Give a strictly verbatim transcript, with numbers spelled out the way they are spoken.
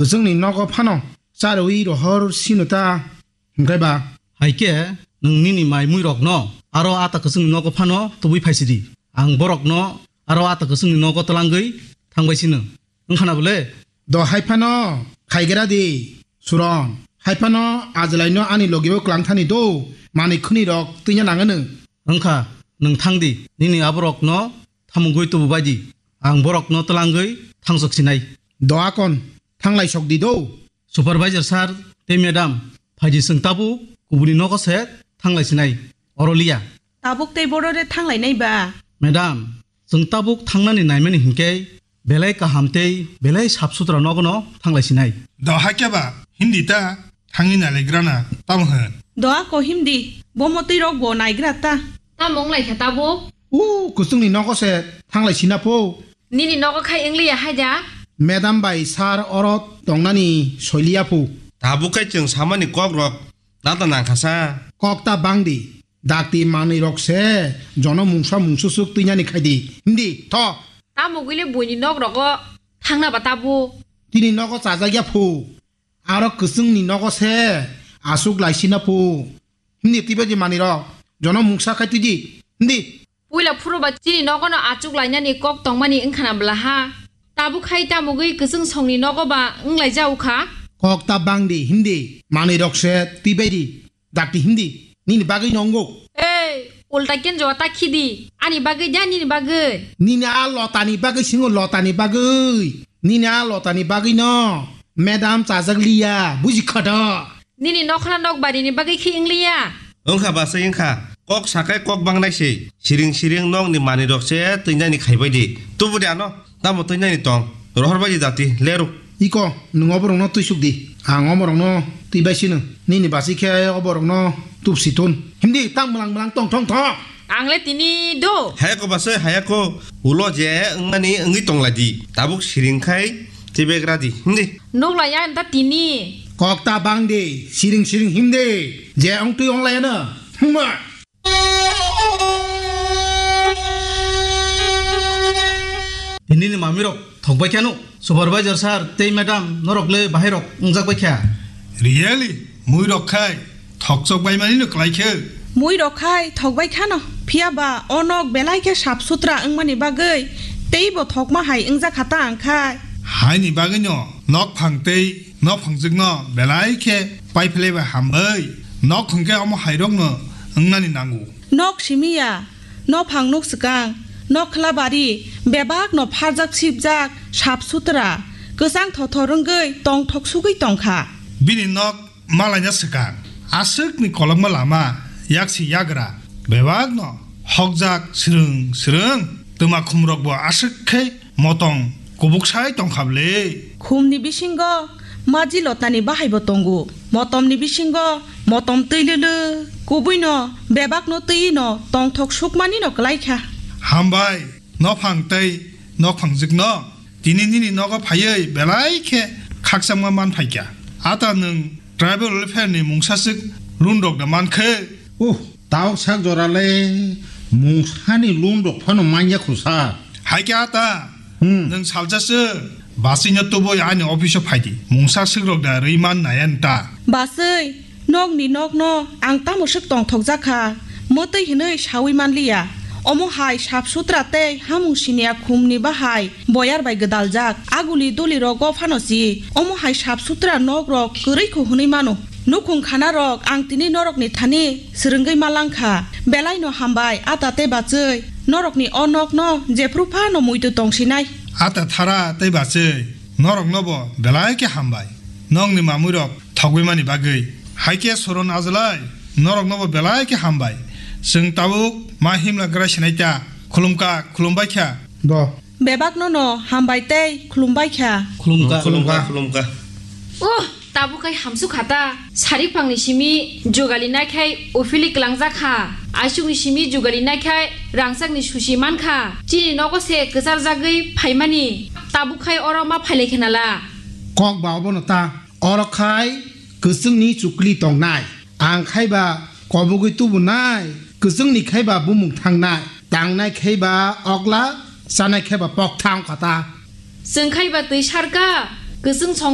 Kwchwngni nogo phano charwi rohor sino ta, hwnkhe ba? Hai khe nwng nini mai muirokno aro a ta kwchwngni nogo phano tubui phaisidi. Ang borokno aro a ta kwchwngni nogo twlangwi thangbai sino. Wngkha na bole? Do hai phano khaigra di, Suron. Hai phano ajlaino ani logio kwlang thani do, manwi khwnirok twina nangano. Wngkha, nwng thang di, nini aborokno thamungwi tubu bai di. Ang borokno twlangwi thangsok sinai. Do akon, thanglai sok di do. Supervisor sir tei madam, phaidi chwng tabuk kubuni nogo se thanglai sinai. Oro liya. Tabuk tei boro re thanglai nai ba? Madam, chwng tabuk thangnani naimani hinkhe belai kaham tei belai sap sutra nogono thanglai sinai. Do hakhe ba, hindi ta thangwi nalaigrana tamo hwn? Do ako hindi, bo motwi rok bo naigra ta. Tamo wnglaikha tabuk? U, kwchwngni nogo se thanglai sina pho. Nini nogo khai wngliya haida? Madam bai sir oro tongnani soiliya pho. Tabuk khai chwng samani kok rok nata nangkha sa. Kok ta bang di. Dakti manwi rok se jono mungsa mungsusuk twinani khai di. Hindi, tho. Tamo gwi le buini nok rogo thangna ba tabuk? Tini nogo chajak ya pho. Aro kwchwngni nogo se aswk laisina pho. Hindi twibaidi manwi rok. Jono mungsa khai twidi. Hindi. Puila phuru ba chini nogo no achuk lainani kok tongmani wngkha na bwla ha? Tabuk khai tamugwi kwchwng songni nogo ba wnglaijao kha? Kok ta bangdi, hindi. Manwi rok se twibaidi. Dakti hindi. Nini bagwi no wngo. Ei, ulta kenjo ta khidi. Ani bagwi da nini bagwi? Nini a lotani bagwi singo, lotani bagwi. Nini a lotani bagwi no. Madam chajak liya, buji khodo. Nini nokhla nok barini bagwi khi wngliya? Wngkha basai wngkha. Kok sakai kok bangnai se. Siring siring nokni manwi rok se twinani khaibai di. Tubudi ano. Tamo twinani tong. Rohor bai di dati. Leru. Iko, nwng oborokno twisuk di. Ang omorokno twibai sino. Nini basi khe oborokno tubsi tun. Himdi, tang mlang mlang tong thong thong. Ang le tini do. Hayako basai, hayako. Ulo je wngmani wngwi tongla di. Tabuk siring khai twibai gra di. Himdi. Nukla ya da tini. Kok ta bang di. Siring siring himdi. Je ong twi ong la ya na. Himma. Tini ni mami rok thok bai kheno. Supervisor sir tei madam norok le bahai rok wngjak bai kha. Really? Mui rok khai thokchok bai mani no klai khe? Mui rok khai thok bai khano. Phiya ba o nok belai khe sap sutra wngmani bagwi tei bo thokma hai wngjak kha ta ang khai. Haini bagwi no nok phang tei nok phangjwk no belai khe pai phlai bai hambai. Nok hwnkhe omo hai rok no wngnani nango. Nok simi ya. Nophang nuk swkang, nokhla bari, bebak no pharjak sipjak, sap sutra, kwchang thothor wngwi tongthok sugwi tongkha. Bini nok malaina swkang, aswkni kolokma lama, yaksi yagra, bebak no hokjak swrwng swrwng, twma khumrok bo aswk khe motong kubuk sai tongkha bwle. Khumni bisingo maji lotani bahai bo tongo. Motomni bisingo motom twi lwlwk, kubuino bebakno twi no tongthok sukmani no kwlai kha. Hambai, nophang tei nokphangjwkno tini nini nogo phaiwi belai khe khakchangma man phai kha. Ata nwng tribal welfare ni mungsaswk loan rok da man khe? Uh, Tauk sak jora le mungsani loan rok phano manya kho sa. Hai khe ata, Hmm. Nwng salsa se basui no tubui ani office o phai di. Mungsa swk rok da rwi man nai ani ta. Basui, nokni nokno ang tamo swk tongthok jak kha, mwtwi hinwi saui man liya. Omo hai sap sutra tei hamung siniya khum ni bahai boyar bai gwdal jak. Aguli duli rogo phano si, omo hai sap sutra nok rok kwrwi kho hwnwi mano. Nukhung khana rok ang tini norokni thani swrwngwi ma langkha. Belai no hambai, ata tei bachwi. Norokni o nok no jephru phano muitu tong sinai. Ata thara tei bachwi, norok no bo belai khe hambai. Nokni mamui rok thogwi mani bagwi. Hai khe Soron Ajlai, norok no bo belai khe hambai. Chwng tabuk ma himla gra sinai ta. Khulumkha, khulumbai kha. Bo. Bebak no no hambai tei khulumbai kha. Khulumkha. Khulumkha. Khulumkha. Uh, tabuk khai hamsuk kha ta. Sari phangni simi jugali nai khai uphili kwlangjak kha. Aisukni simi jugali nai khai rangchakni susi man kha. Chini nogo se kwchar jagwi phaimani. Tabuk khai oro ma phailai khe nala. Kok ba obono ta. Oro khai kwchwngni chukli tongnai. Ang khai ba kobogwi tubunai. Kwchwngni khai ba bumung thangnai. Tangnai khai ba okla, chanai khai ba pokthang kha ta. Chwng khai ba twi sarka, kwchwng song